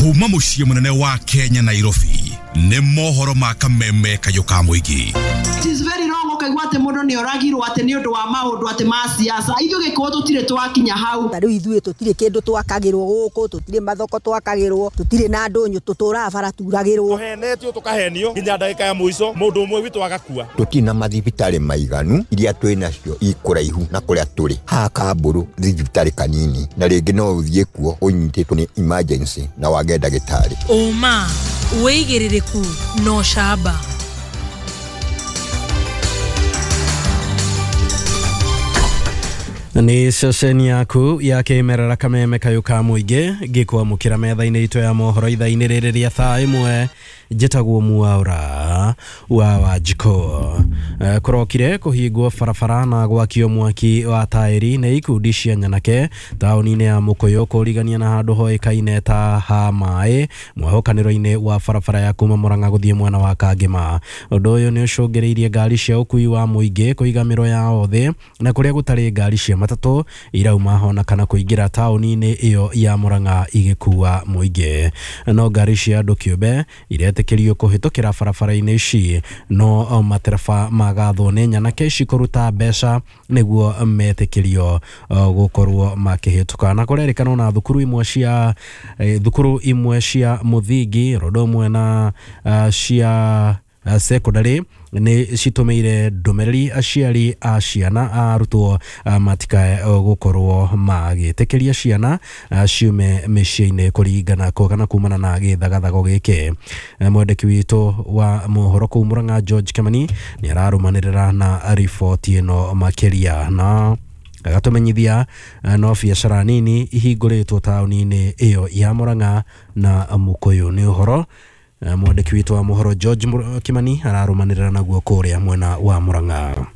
Kuma muciĩ munene wa Kenya Nairobi nĩ mohoro ma kameme kayũ ka mũingĩ. It is very wrong ũkaigua atĩ mũndũ nĩ oragirwo atĩ nĩ ũndũ wa maũndũ atĩ ma siasa. Ithuĩ Gĩkũyũ tũtirĩ twakinya hau. Ta rĩu ithuĩ tũtirĩ kĩndũ twakagĩrwo gũkũ, tũtirĩ mathoko twakagĩrwo, tũtirĩ na ndũnyũ, tũtũraga bara turagĩrwo. Tũhenetio tũkahenio nginya ndagĩka ya mũico mũndũ ũmwe witũ agakua. Tũtirĩ na mathibitarĩ maiganu, iria twĩ nacio ikũraihu na kũrĩa tũrĩ. Haha Kambũrũ thibitarĩ kanini na rĩngĩ no ũthiĩ kuo ũnyitĩtwo nĩ emergency na wage ndagĩtarĩ. Ũma, wĩigĩrĩrĩku na ũcamba. Nĩ ceceni yaku ya kĩmerera kameme kayũ ka mũingĩ ngĩkwamũkĩra metha-inĩ itũ ya mohoro ithaa-inĩ rĩrĩ rĩa thaa ĩmwe. Njĩtagwo Mwaura wa Wanjikũ. Kũrokire kũhingwo barabara na gwakio mwaki wa taĩri nĩ ikundi cia nyanake taũni-inĩ ya Mũkũyũ kũrigania na handũ hoĩkaine ta ha maĩ mwehũkanĩro-inĩ wa barabara ya kuma Mũrang'a gũthiĩ mwena wa Kangĩma. Ũndũ ũyũ nĩ ũcũngĩrĩirie ngari cia ũkui wa mũingĩ kũiga mĩro yao thĩ na kũrĩa gũtarĩ ngari cia matatũ irauma hona kana kũingĩra taũni-inĩ ĩyo ya Mũrang'a igĩkua mũingĩ. No ngari cia andũ kĩũmbe iretĩkĩrio kũhĩtũkĩra barabara-inĩ ici, no matereba magathwo nĩ nyanake ici kũruta mbeca nĩguo metĩkĩrio gũkorwo makĩhĩtũka. Na kũrerĩkana na thukuru imwe cia mũthingi ũndũ ũmwe na cia secondary nĩ citũmĩire ndũmĩrĩri aciari a ciana a arutwo matikae gũkorwo magĩtĩkĩria ciana ciume mĩciĩ-inĩ kũringana kana kumana na gĩthagathago gĩkĩ. Mwandĩki witũ wa mohoro kũu Mũrang'a George Kĩmani nĩ ararũmanĩrĩra na riboti ĩno makĩria na agatũmenyithia no biacara nini ihingũrĩtwo taũni-inĩ ĩyo ya Mũrang'a na Mũkũyũ. Nĩ ũhoro mwandĩki witũ wa mohoro George Kimani ararũmanĩrĩra naguo kũrĩa mwena wa Mũrang'a.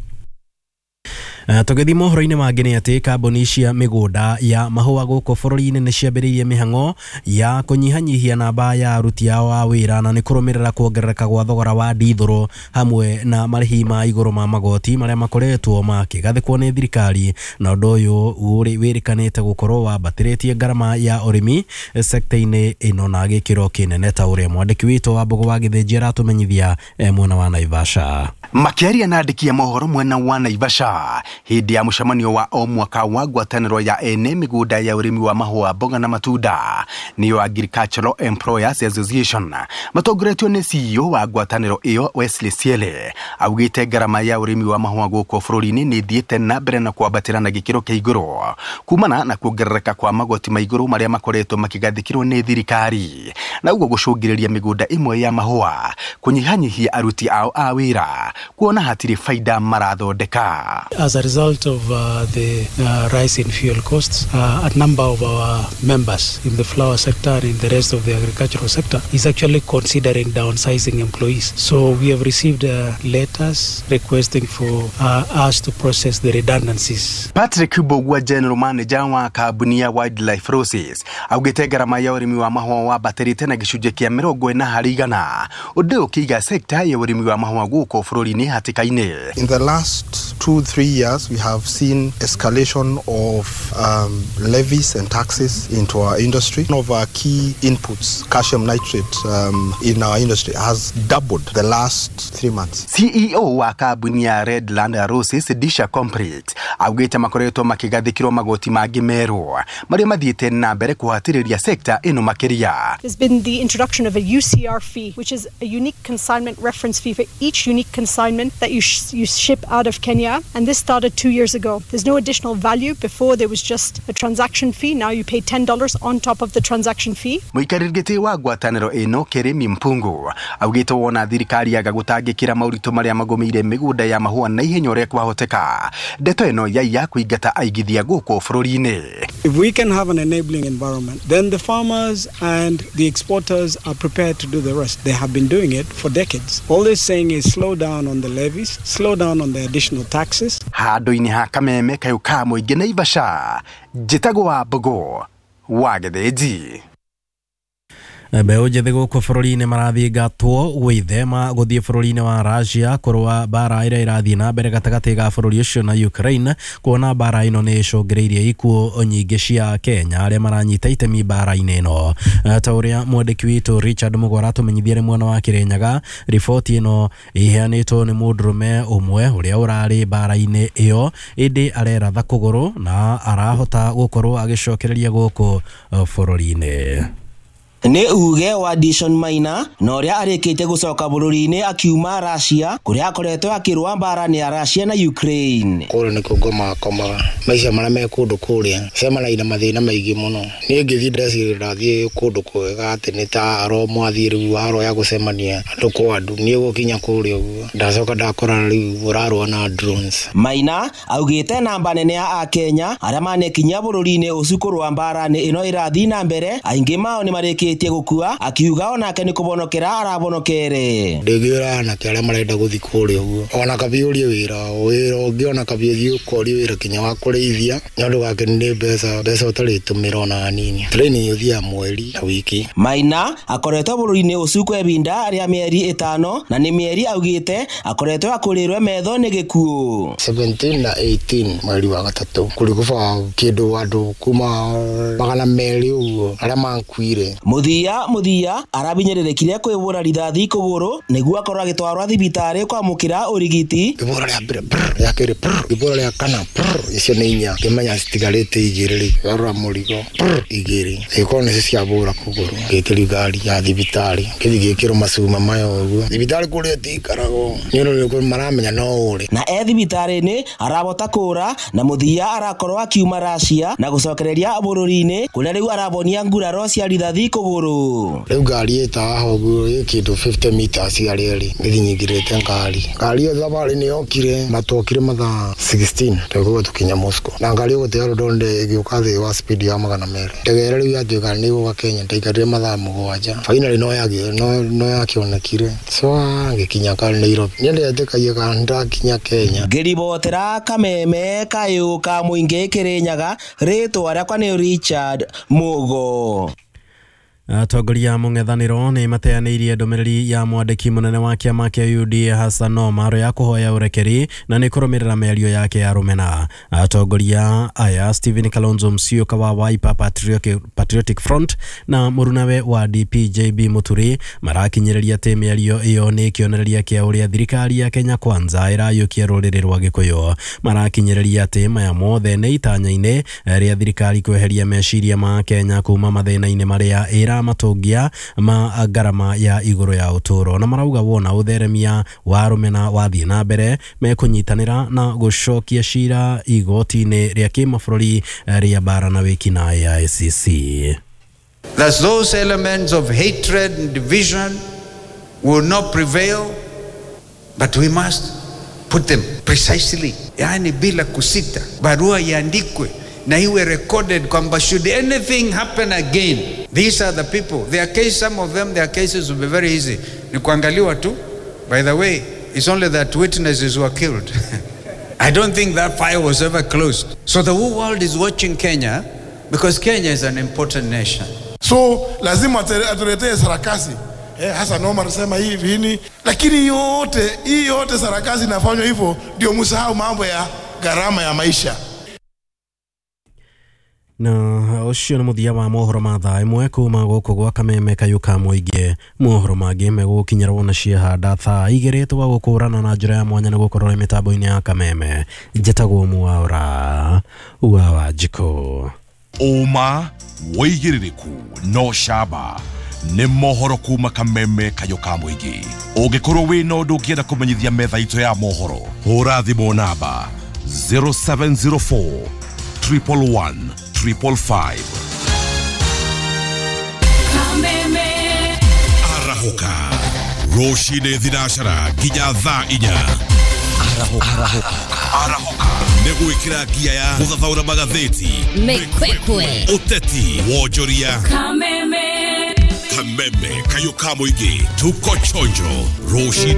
Tũgĩthiĩ mohoro-inĩ mangĩ nĩ atĩ kambuni cia mĩgũnda ya mahũa gũkũ bũrũri-inĩ nĩ ciambĩrĩirie mĩhang'o ya kũnyihanyihia namba ya aruti ao a wĩra na nĩ kũrũmĩrĩra kuongerereka gwa thogora wa ndithũrũ hamwe na marĩhi ma igũrũ ma magoti marĩa makoretwo makĩgathĩkwo nĩ thirikari, na ũndũ ũyũ wĩrĩkanĩte gũkorwo wambatĩrĩtie ngarama ya ũrĩmi sekta-inĩ ĩno na gĩkĩro kĩnene ta ũrĩa mwandĩki witũ wa Mbũgũ wa Gĩthĩnji aratũmenyithia mwena wa Naivasha. Makĩaria na andĩki a mohoro mwena wa Naivasha hĩndĩ ya mũcemanio wa o mwaka wa ngwatanĩro ya ene mĩgũnda ya ũrĩmi wa mahũa, mboga na matunda nĩyo Agricultural Employers Association, matongoretio nĩ CEO wa ngwatanĩro ĩyo Wesley Siele, augĩte ngarama ya ũrĩmi wa mahũa gũkũ bũrũri-inĩ nĩ ĩthiĩte na mbere na kwambatĩra na gĩkĩro kĩa igũrũ kumana na kuongerereka kwa magoti ma igũrũ marĩa makoretwo makĩgathĩkĩrwo nĩ thirikari, na ũguo gũcũngĩrĩria mĩgũnda ĩmwe ya mahũa kũnyihanyihia aruti ao a wĩra kuona hatirĩ baida marathondeka. As a result of the rise in fuel costs, a number of our members in the flower sector and in the rest of the agricultural sector is actually considering downsizing employees. So we have received letters requesting for us to process the redundancies. Patrick Mbugua, general manager wa kambuni ya Wildlife Roses, augĩte ngarama ya ũrĩmi wa mahũa wambatĩrĩte na gĩcunjĩ kĩa 40%, ũndũ ũkĩiga sekta ya ũrĩmi wa mahũa gũkũ bũrũri-inĩ hatĩka-inĩ. In the last 2-3 years, we have seen escalation of levies and taxes into our industry. One of our key inputs, calcium nitrate, in our industry has doubled the last 3 months. CEO wa kambuni ya Redland Roses Disha Complex augĩte makoretwo makĩgathĩkĩrwo magoti mangĩ merũ marĩa mathiĩte na mbere kũhatĩrĩria sekta ĩno makĩria. There's been the introduction of a UCR fee, which is a unique consignment reference fee for each unique consignment that you ship out of Kenya, and this started 2 years ago. There's no additional value. Before there was just a transaction fee. Now you pay $10 on top of the transaction fee. Mũikarĩri gĩtĩ wa ngwatanĩro ĩno Keremi Mpungu augĩte wona thirikari yaga gũtangĩkĩra maũritũ marĩa magũmĩire mĩgũnda ya mahũa na ihenya ũrĩa kwahoteka, ndeto ĩno yaiya kũingata aigithia gũkũ bũrũri-inĩ. If we can have an enabling environment, then the farmers and the exporters are prepared to do the rest. They have been doing it for decades. All they're saying is slow down on the levies, slow down on the additional taxes. Handũ-inĩ ha kameme kayũ ka mũingĩ Naivasha, njĩtagwo wa Mbũgũ wa Gĩthĩnji. Mbeũ njĩthĩ gũkũ bũrũri-inĩ marathingatwo gwĩthema gũthiĩ bũrũri-inĩ wa Russia kũrũa mbara ĩrĩa ĩrathiĩ na mbere gatagatĩ ga bũrũri ũcio na Ukraine, kuona mbara ĩno nĩ ĩcũngĩrĩirie ikuũ nyingĩ cia Kenya arĩa maranyita itemi mbara-inĩ ĩno. Ta ũrĩa mwandĩki witũ Richard Mũgwa aratũmenyithia arĩ mwena wa Kĩrĩnyaga, riboti ĩno ĩheanĩtwo nĩ mũndũrũme ũmwe ũrĩa ũrarĩ mbara-inĩ ĩyo ĩndĩ areratha kũgũrũ na arahota gũkorwo agĩcokereria gũkũ bũrũri-inĩ. Nĩ uge wa Dishon Maina na ũrĩa arĩkĩtie gũcoka bũrũri-inĩ akiuma Russia kũrĩa akoretwo akĩrũa mbara nĩ ya Russia na Ukraine. Kũrĩa nĩkuo ngomaga komaga maica marĩa me kũndũ kũrĩa cemanagia na mathĩna maingĩ mũno. Niĩ ngĩthiĩ ndĩreciria ndathiĩ kũndũ kwega atĩ nĩ ta aro mwathiĩ rĩu haro ya gũcemania andũ kwa andũ, niĩ gũkinya kũrĩa ũguo ndacoka ndakora rĩu ũrarũa na drones. Maina augĩte namba nene ya akenya arĩa manekinyia bũrũri-inĩ ũcio kũrũa mbara nĩ ĩno ĩrathiĩ na mbere, aingĩ mao nĩ marĩkĩtie gũkua, akiuga onake nĩ kũbonokera arabonokere. Ndĩngĩra anake arĩa marenda gũthiĩ kũrĩa ũguo ona kabi ũrie wĩra ũngĩ ona kabi ũthiĩ ũkorie wĩra kinya wa kũrĩithia nĩ ũndũ wake nĩ mbeca ũtarĩtũmĩra ona hanini. Training ũthiaga mweri na wiki. Maina akoretwo bũrũri-inĩ ũcio kwa ibinda rĩa mĩeri 5 na nĩ mĩeri augĩte akoretwo akũrĩrwe metho nĩ gĩkuũ. 17 na 18 mweri wa gatatũ kũrĩ kũba kĩndũ andũ kuma 200 ũguo arĩa makuire. Muthia arabinyĩrĩrĩkire kwĩbũra rithathi kũgũrũ nĩguo akorwo agĩtwarwo thibitarĩ kwamũkĩra ũrigiti. Ibũra rĩa mbere rĩa kerĩ ibũra rĩa kana icio nĩ inya ngĩmenya citigarĩte igĩrĩ rĩ garũra mũrigo igĩrĩ ĩkorwo nĩcio ciabũra kũgũrũ ngĩtĩri ngari ya thibitarĩ ngĩthiĩ ngĩkĩrwo macuma maya ũguo thibitarĩ kũrĩa ĩtiikaragwo nĩ ũndũ maramenya no ũrĩ na e thibitarĩ-inĩ arabota kũra na Muthia arakorwo akiuma Russia na gũcokereria bũrũri-inĩ kũrĩa rĩu arabonia nguraro cia rithathi kũgũrũ. Rĩu ngari ĩtaha ũguo ĩ kĩndũ 50 meters harĩa ĩrĩ ngĩthiĩ nyingĩrĩte ngari ĩyo thabarĩ nĩ yokire na twokire mathaa 16 twekũgwo tũkinya Moscow na ngari ĩgũte London ĩgĩũka thĩ wa speed ya 200. Ndege ĩrĩa rĩu yatuĩka nĩ ĩgũka Kenya ndaikarire mathaa 7 finally no yakĩonekire so ngĩkinya ka Nairobi niĩ ndetĩkagia kana ndakinya Kenya. Ngĩribotera Kameme kayũ ka mũingĩ Kĩrĩnyaga, rĩtwa rĩakwa nĩ Richard Mugo. Atongoria mũng'ethanĩro nĩ mateanĩirie ndũmĩrĩri ya mwandĩki mũnene wa kĩama kĩa UDA Hassan Omar ya kũhoya ũrekeri na nĩ kũrũmĩrĩra mĩario yake ya rũmena. Atongoria aya Stephen Kalonzo Musyoka wa Wiper Patriotic Front na mũrunawe wa DP JB Muturi marakinyĩrĩria atĩ mĩario ĩyo nĩ kĩonereria kĩa ũrĩa thirikari ya Kenya Kwanza ĩrayũkia rũrĩrĩ rwa Gĩkũyũ. Marakinyĩrĩria atĩ maya mothe nĩ itanya-inĩ rĩa thirikari kweheria meciria ma Kenya kuma mathĩna-inĩ marĩa ĩra matongia ma ngarama ya igũrũ ya ũtũũro, na marauga wona ũtheremia wa rũmena wathiĩ na mbere mekũnyitanĩra na gũcokia cira igoti-inĩ rĩa kĩmabũrũri rĩa bara na wĩkinaĩ ya ICC. That those elements of hatred and division will not prevail, but we must put them precisely, yani bila kusita, barua iandikwe na iwe recorded kwamba should anything happen again, these are the people. Their case, some of them, their cases will be very easy. Ni kuangaliwa tu. By the way, it's only that witnesses were killed. I don't think that file was ever closed. So the whole world is watching Kenya because Kenya is an important nation. So lazima atuletee sarakasi. Hassan Omar sema hivi nini, lakini yote hii yote sarakasi inafanywa hivyo ndio msahau mambo ya gharama ya maisha. Na ũcio nĩ mũthia wa mohoro ma thaa ĩmwe kuma gũkũ gwa Kameme kayũ ka mũingĩ. Mohoro mangĩ megũkinyĩrwo na ciehanda thaa 2 twa gũkũrana na njĩra ya mwanya nĩ gũkorwo mĩtambo-inĩ ya Kameme. Njĩtagwo Mwaura wa Wanjikũ. Ũma wĩigĩrĩrĩku no camba nĩ mohoro kuma Kameme kayũ ka mũingĩ. Ũngĩkorwo wĩna ũndũ ũngĩenda kũmenyithia metha itũ ya mohoro, hũra thimũ namba 0704 111 555. Arahoka rũcinĩ thinacara nginya thaa 4. Arahoka nĩ gwĩkĩra ngia ya gũthathaũra magathĩti, mĩkwekwe, ũteti, wonjoria. Kameme kayũ ka mũingĩ, tuko chonjo rũcinĩ.